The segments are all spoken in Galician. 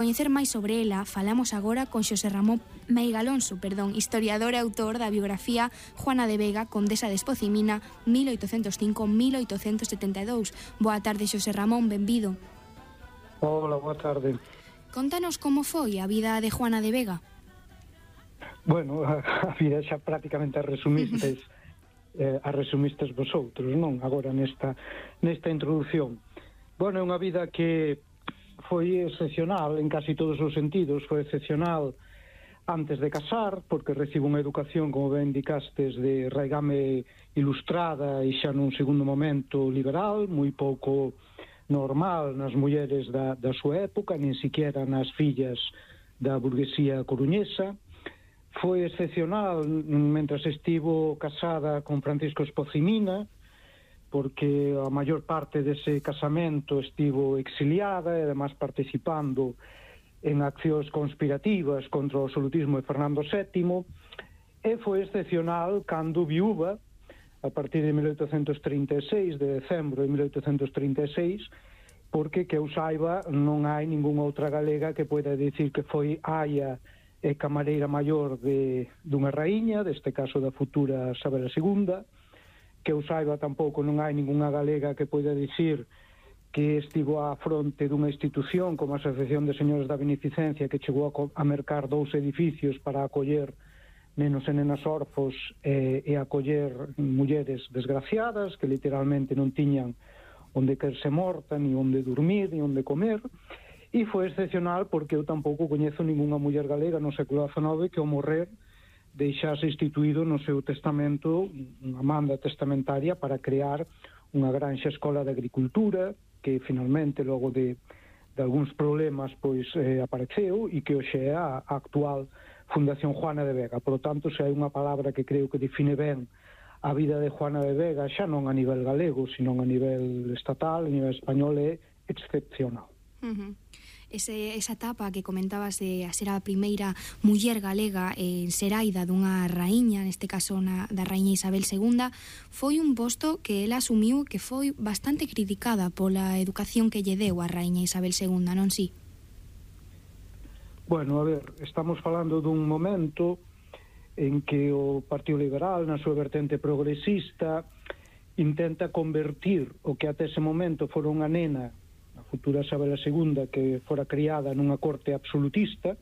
coñecer máis sobre ela, falamos agora con Xosé Ramón Meiga Alonso, historiador e autor da biografía Juana de Vega, condesa de Espocimina, 1805-1872. Boa tarde, Xosé Ramón, benvido. Hola, boa tarde. Contanos como foi a vida de Juana de Vega. Bueno, a vida xa prácticamente a resumistes vosotros, non? Agora nesta introducción. Bueno, é unha vida que foi excepcional en casi todos os sentidos. Foi excepcional antes de casar, porque recibo unha educación, como ben indicastes, de raigame ilustrada e xa nun segundo momento liberal, moi pouco normal nas mulleres da súa época, nin siquiera nas fillas da burguesía coruñesa. Foi excepcional mentras estivo casada con Francisco Espocimina, porque a maior parte dese casamento estivo exiliada e además participando en accións conspirativas contra o absolutismo de Fernando VII, e foi excepcional cando viúva, a partir de 1836, de decembro de 1836, porque que eu saiba non hai ningunha outra galega que poida dicir que foi aia e camareira maior dunha raíña, deste caso da futura Isabel II. Que eu saiba tampouco non hai ningunha galega que poida dicir que estivo á fronte dunha institución como a Asociación de Señores da Beneficencia, que chegou a mercar 2 edificios para acoller nenos e nenas orfos e acoller mulleres desgraciadas que literalmente non tiñan onde querse morta, ni onde dormir, ni onde comer. E foi excepcional porque eu tampouco coñezo ningunha muller galega no século XIX que ao morrer deixase instituído no seu testamento unha manda testamentaria para crear unha granxa escola de agricultura que finalmente logo de algúns problemas pois apareceu e que hoxe é a actual Fundación Juana de Vega. Por lo tanto, se hai unha palabra que creo que define ben a vida de Juana de Vega, xa non a nivel galego, sino a nivel estatal, a nivel español, é excepcional. Esa etapa que comentabas de a ser a primeira muller galega en ser aida dunha raíña, neste caso da raíña Isabel II, foi un posto que ela asumiu que foi bastante criticada pola educación que lle deu a raíña Isabel II, non si? Bueno, a ver, estamos falando dun momento en que o Partido Liberal, na súa vertente progresista, intenta convertir o que até ese momento fora unha nena, a futura Isabel II, que fora criada nunha corte absolutista,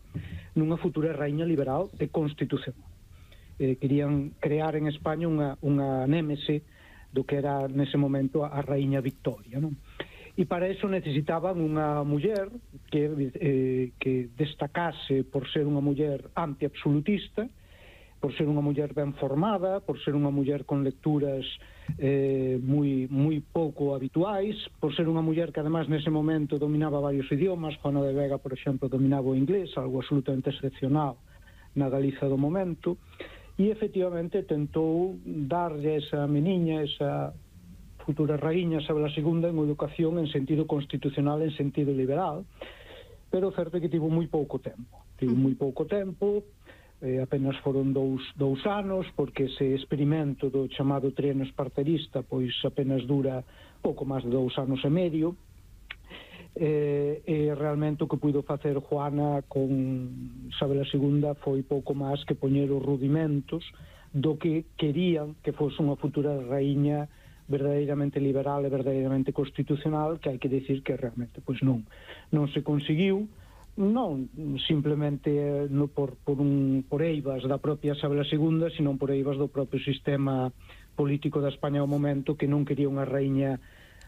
nunha futura raíña liberal e constitucional. Querían crear en España unha némese do que era nese momento a raíña Victoria, non? E para eso necesitaban unha muller que destacase por ser unha muller antiabsolutista, por ser unha muller ben formada, por ser unha muller con lecturas moi pouco habituais, por ser unha muller que además nese momento dominaba varios idiomas. Juana de Vega, por exemplo, dominaba o inglés, algo absolutamente excepcional na Galiza do momento, e efectivamente tentou darlle a esa meniña, esa futura raíña Isabel II, en educación en sentido constitucional, en sentido liberal, pero o certo é que tivo moi pouco tempo. Apenas foron dous anos, porque ese experimento do chamado trienio esparterista pois apenas dura pouco máis de 2 anos e medio, e realmente o que puido facer Juana con Isabel II foi pouco máis que poñer os rudimentos do que querían que fose unha futura raíña verdadeiramente liberal e verdadeiramente constitucional, que hai que decir que realmente pois non se conseguiu, non simplemente por eivas da propia Isabel II, sino por eivas do propio sistema político da España ao momento, que non quería unha raíña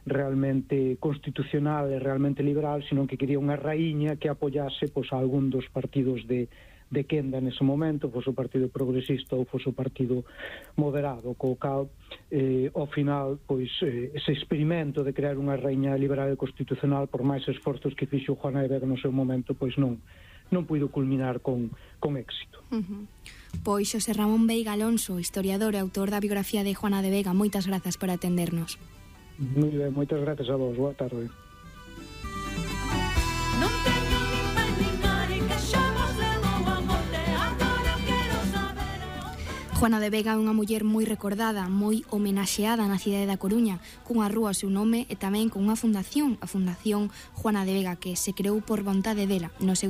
realmente constitucional e realmente liberal, sino que quería unha raíña que apoyase pois a algún dos partidos de quenda nese momento, fose o Partido Progresista ou fose o Partido Moderado, co cal ao final pois ese experimento de crear unha raíña liberal e constitucional, por máis esforzos que fixo Juana de Vega no seu momento, pois non puido culminar con éxito. Pois Xosé Ramón Veiga Alonso, historiador e autor da biografía de Juana de Vega, moitas grazas por atendernos. Moi ben, moitas grazas a vos, boa tarde. Juana de Vega é unha muller moi recordada, moi homenaxeada na cidade da Coruña, cunha rúa ao seu nome e tamén con unha fundación, a Fundación Juana de Vega, que se creou por vontade dela no seu